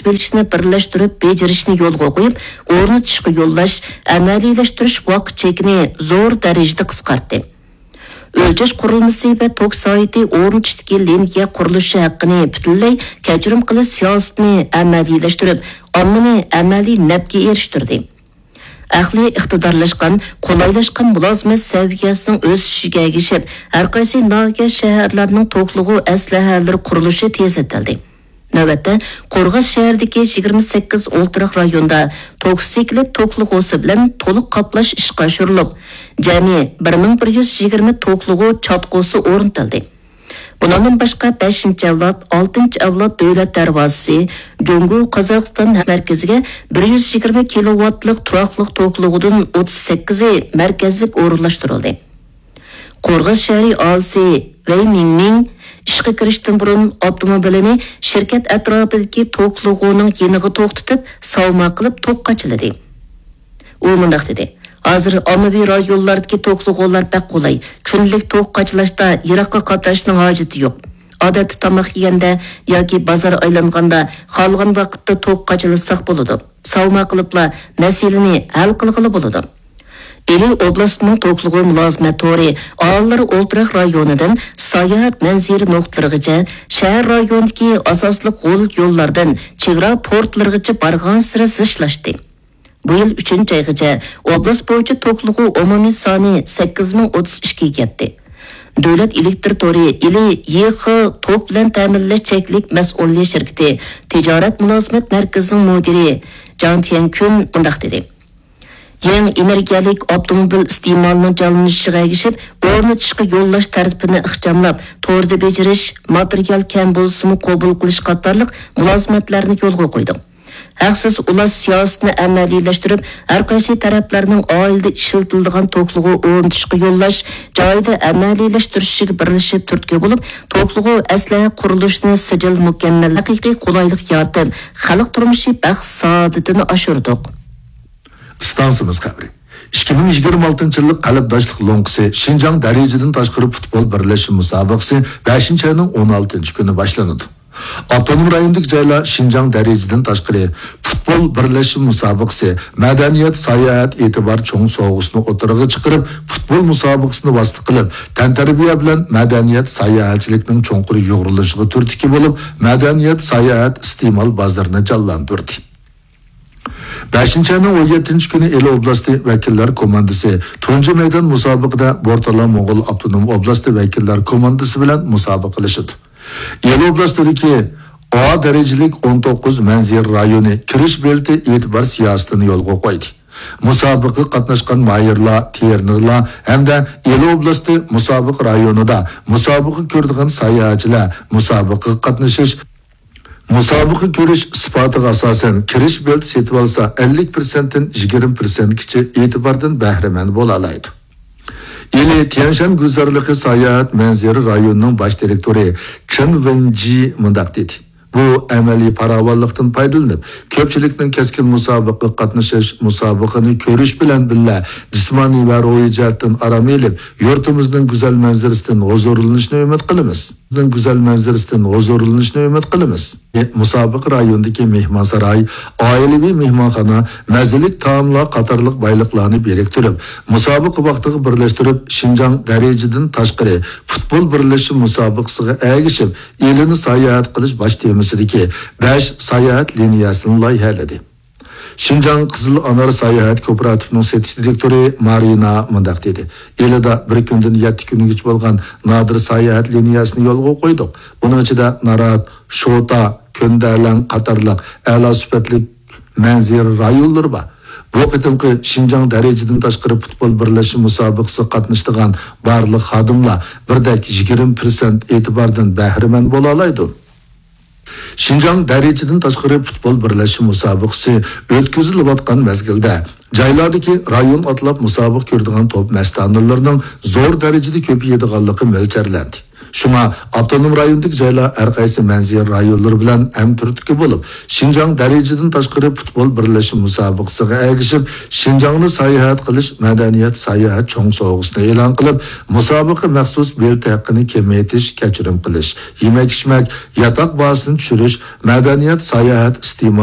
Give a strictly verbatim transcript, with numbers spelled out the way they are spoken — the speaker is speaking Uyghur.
بېلىشنى بىرلەشتۈرۈپ بېجىرىشنى يولغا قويۇپ، ئورنىتىشقا يوللاش، ئەمەلىيلەشتۈرۈش ۋاقىت چېكىنى زور دەرىجىدە قىسقارتتى. ئۆلچەش قۇرۇلمىسى ۋە توك سايتى ئورنىتىشتىكى لىنىيە قۇرۇلۇشى ھەققىنى پۈتۈنلەي كەچۈرۈم قىلىش سىياسىتىنى ئەمەلىيلەشتۈرۈپ، ئاممىنى ئەمەلىي نەپكە ئېرىشتۈردى. ئەقلىي ئىقتىدارلاشقان، قولايلاشقان مۇلازىمەت سەۋىيەسىنىڭ ئۆسۈشىگە ئەگىشىپ، ھەرقايسى ناھىيە، شەھەرلەرنىڭ توكلىغۇ ئەسلىھەلىرى قۇرۇلۇشى تېزلىتىلدى. نۆۋەتتە، قورغاس شەھىرىدىكى يىگىرمە سەككىز ئولتۇراق رايوندا توك سېكلىت توكلىغۇسى بىلەن تولۇق قاپلاش ئىشقا ئاشۇرۇلۇپ، جەمئىي بىر مىڭ بىر يۈز يىگىرمە توكلىغۇ چاتقۇسى ئورنىتىلدى. بۇنىڭدىن باشقا، بەشىنچى ئەۋلاد، ئالتىنچى ئەۋلاد دۆلەت دەرۋازىسى، جۇڭگو، قازاقىستان مەركىزىگە بىر يۈز يىگىرمە كىلوۋاتلىق تۇراقلىق توكلىغۇدىن ئوتتۇز سەككىزى مەركەزلىك ئورۇنلاشتۇرۇلدى. قورغاس شەھىرى ئاھالىسى ۋەي مىڭمىڭ ئىشقا كىرىشتىن بۇرۇن ئاپتوموبىلىنى شىركەت ئەتراپىدىكى توكلىغۇنىڭ يېنىغا توختىتىپ، ساۋما قىلىپ توك قاچىلىدى. ئۇ مۇنداق دېدى: «ھازىر ئاممىۋى رايونلاردىكى توكلىغۇلار بەك قولاي. كۈندىلىك توك قاچىلاشتا يىراققا قاتناشنىڭ ھاجىتى يوق. ئادەتتە تاماق يېگەندە ياكى بازار ئايلانغاندا خالىغان ۋاقىتتا توك قاچىلىساق بولىدۇ. ساۋما قىلىپلا مەسىلىنى ھەل قىلغىلى بولىدۇ.» ئىلى ئوبلاستىنىڭ توكلىغۇ مۇلازىمەت تورى ئاھالىلەر ئولتۇراق رايونىدىن ساياھەت مەنزىرە نۇقتىلىرىغىچە، شەھەر رايونىدىكى ئاساسلىق غول يوللاردىن چېگرا پورتلىرىغىچە بارغانسېرى زىچلاشتى. بۇ يىل ئۈچىنچى ئايغىچە ئوبلاست بويىچە توكلىغۇ ئومۇمىي سانى سەككىز مىڭ ئوتتۇز ئىككىگە يەتتى. دۆلەت ئېلېكتر تورى ئىلى يېخې توك بىلەن تەمىنلەش چەكلىك مەسئۇلىيەت شىركىتى تىجارەت مۇلازىمەت مەركىزىنىڭ مۇدىرى جاڭ تيەنكۈن مۇنداق دېدى: «يېڭى ئېنېرگىيەلىك ئاپتوموبىل ئىستېمالىنىڭ جانلىنىشىغا ئەگىشىپ، ئورنىتىشقا يوللاش تەرتىپىنى ئىخچاملاپ، توردا بېجىرىش، ماتېرىيال كەم بولسىمۇ قوبۇل قىلىش قاتارلىق مۇلازىمەتلەرنى يولغا قويدۇق. ھەقسىز ئۇلاش سىياسىتىنى ئەمەلىيلەشتۈرۈپ، ھەرقايسى تەرەپلەرنىڭ ئائىلىدە ئىشلىتىلىدىغان توكلىغۇ ئورنىتىشقا يوللاش، جايىدا ئەمەلىيلەشتۈرۈشىگە بىرلىشىپ تۈرتكە بولۇپ، توكلىغۇ ئەسلىھە قۇرۇلۇشىنى سىجىل مۇكەممەل، ھەقىقىي قولايلىق يارىتىپ، خەلق تۇرمۇشى بەخت سائادىتىنى ئاشۇردۇق.» ئىستانسىمىز خەۋىرى. ئىككى مىڭ يىگىرمە ئالتىنچى يىللىق قەلبداشلىق لوڭقىسى شىنجاڭ دەرىجىدىن تاشقىرى پۇتبول بىرلەشمە مۇسابىقىسى بەشىنچى ئاينىڭ ئون ئالتىنچى كۈنى باشلىنىدۇ. ئاپتونوم رايوندىكى جايلار شىنجاڭ دەرىجىدىن تاشقىرى پۇتبول بىرلەشمە مۇسابىقىسى، مەدەنىيەت، ساياھەت ئېتىبار چوڭ سوۋغىسىنى ئوتتۇرىغا چىقىرىپ، پۇتبول مۇسابىقىسىنى ۋاسىتە قىلىپ، تەنتەربىيە بىلەن مەدەنىيەت، ساياھەتچىلىكنىڭ چوڭقۇر يۇغۇرۇلۇشىغا تۈرتكە بولۇپ، مەدەنىيەت، ساياھەت ئىستېمال بازىرىنى جانلاندۇردى. بەشىنچى ئاينىڭ ئون يەتتىنچى كۈنى ئىلى ئوبلاستى ۋەكىللەر كوماندىسى تۇنجى مەيدان مۇسابىقىدە بورتالا موڭغۇل ئاپتونوم ئوبلاستى ۋەكىللەر كوماندىسى بىلەن مۇسابىقىلىشىدۇ. ئىلى ئوبلاستىدىكى ئا دەرىجىلىك ئون توققۇز مەنزىرە رايونى كىرىش بېلىتى ئېتىبار سىياسىتىنى يولغا قويدى. مۇسابىقىگە قاتناشقان ماھىرلار، تېرېنېرلار ھەمدە ئىلى ئوبلاستى مۇسابىقە رايونىدا مۇسابىقە كۆرىدىغان ساياھەتچىلەر مۇسابىقىگە قاتنىشىش، مۇسابىقە كۆرۈش ئىسپاتىغا ئاساسەن، كىرىش بېلىتى سېتىۋالسا، ئەللىك پىرسەنتتىن يىگىرمە پىرسەنتكىچە ئېتىباردىن بەھرىمەن بولالايدۇ. ئىلى تيەنشان گۈلزارلىقى ساياھەت مەنزىرە رايونىنىڭ باش دىرېكتورى چېن ۋېنجى مۇنداق دېدى: «بۇ ئەمەلىي پاراۋانلىقتىن پايدىلىنىپ، كۆپچىلىكنىڭ كەسكىن مۇسابىقىگە قاتنىشىش، مۇسابىقىنى كۆرۈش بىلەن بىللە، جىسمانىي ۋە روھىي جەھەتتىن ئارام ئېلىپ، يۇرتىمىزنىڭ گۈزەل مەنزىرىسىدىن ھۇزۇرلىنىشنى ئۈمىد قىلىمىز.» گۈزەل مەنزىرىسىدىن ھۇزۇرلىنىشنى ئۈمىد قىلىمىز. مۇسابىقە رايونىدىكى مېھمانساراي، ئائىلىۋى مېھمانخانا، مەززىلىك تائاملار قاتارلىق بايلىقلارنى بىرىكتۈرۈپ، مۇسابىقە ۋاقتىغا بىرلەشتۈرۈپ، شىنجاڭ دەرىجىدىن تاشقىرى پۇتبول بىرلەشمە مۇسابىقىسىغا ئەگىشىپ، ئىلىنى ساياھەت قىلىش باش تېمىسىدىكى بەش ساياھەت لىنىيەسىنى لايىھەلىدى. شىنجاڭ قىزىل ئانار ساياھەت كوپىراتىپىنىڭ سېتىش دىرېكتورى مارىنا مۇنداق دېدى: «ئىلىدا بىر كۈندىن يەتتە كۈنگىچە بولغان نادىر ساياھەت لىنىيەسىنى يولغا قويدۇق. بۇنىڭ ئىچىدە نارات، شوتا، كۆندەلەڭ قاتارلىق ئەلا سۈپەتلىك مەنزىرە رايونلىرى بار. بۇ قېتىمقى شىنجاڭ دەرىجىدىن تاشقىرى پۇتبول بىرلەشمە مۇسابىقىسىگە قاتنىشىدىغان بارلىق خادىملار بىردەك يىگىرمە پىرسەنت ئېتىباردىن بەھرىمەن بولالايدۇ.» شىنجاڭ دەرىجىدىن تاشقىرى پۇتبول بىرلەشمە مۇسابىقىسى ئۆتكۈزۈلۈۋاتقان مەزگىلدە، جايلاردىكى رايون ئاتلاپ مۇسابىقە كۆرىدىغان توپ مەستانىلىرىنىڭ زور دەرىجىدە كۆپىيىدىغانلىقى مۆلچەرلەندى. شۇڭا ئاپتونوم رايوندىكى جايلار ھەر قايسى مەنزىرە رايونلىرى بىلەن ھەمتۈرتكە بولۇپ، شىنجاڭ دەرىجىدىن تاشقىرى پۇتبول بىرلەشمە مۇسابىقىسىغا ئەگىشىپ، شىنجاڭنى ساياھەت قىلىش مەدەنىيەت ساياھەت چوڭ سوۋغىسىنى ئېلان قىلىپ، مۇسابىقە مەخسۇس بېلەت ھەققىنى كېمەيتىش، كەچۈرۈم قىلىش، يېمەك-ئىچمەك، ياتاق باھاسىنى چۈشۈرۈش، مەدەنىيەت ساياھەت ئىستېمال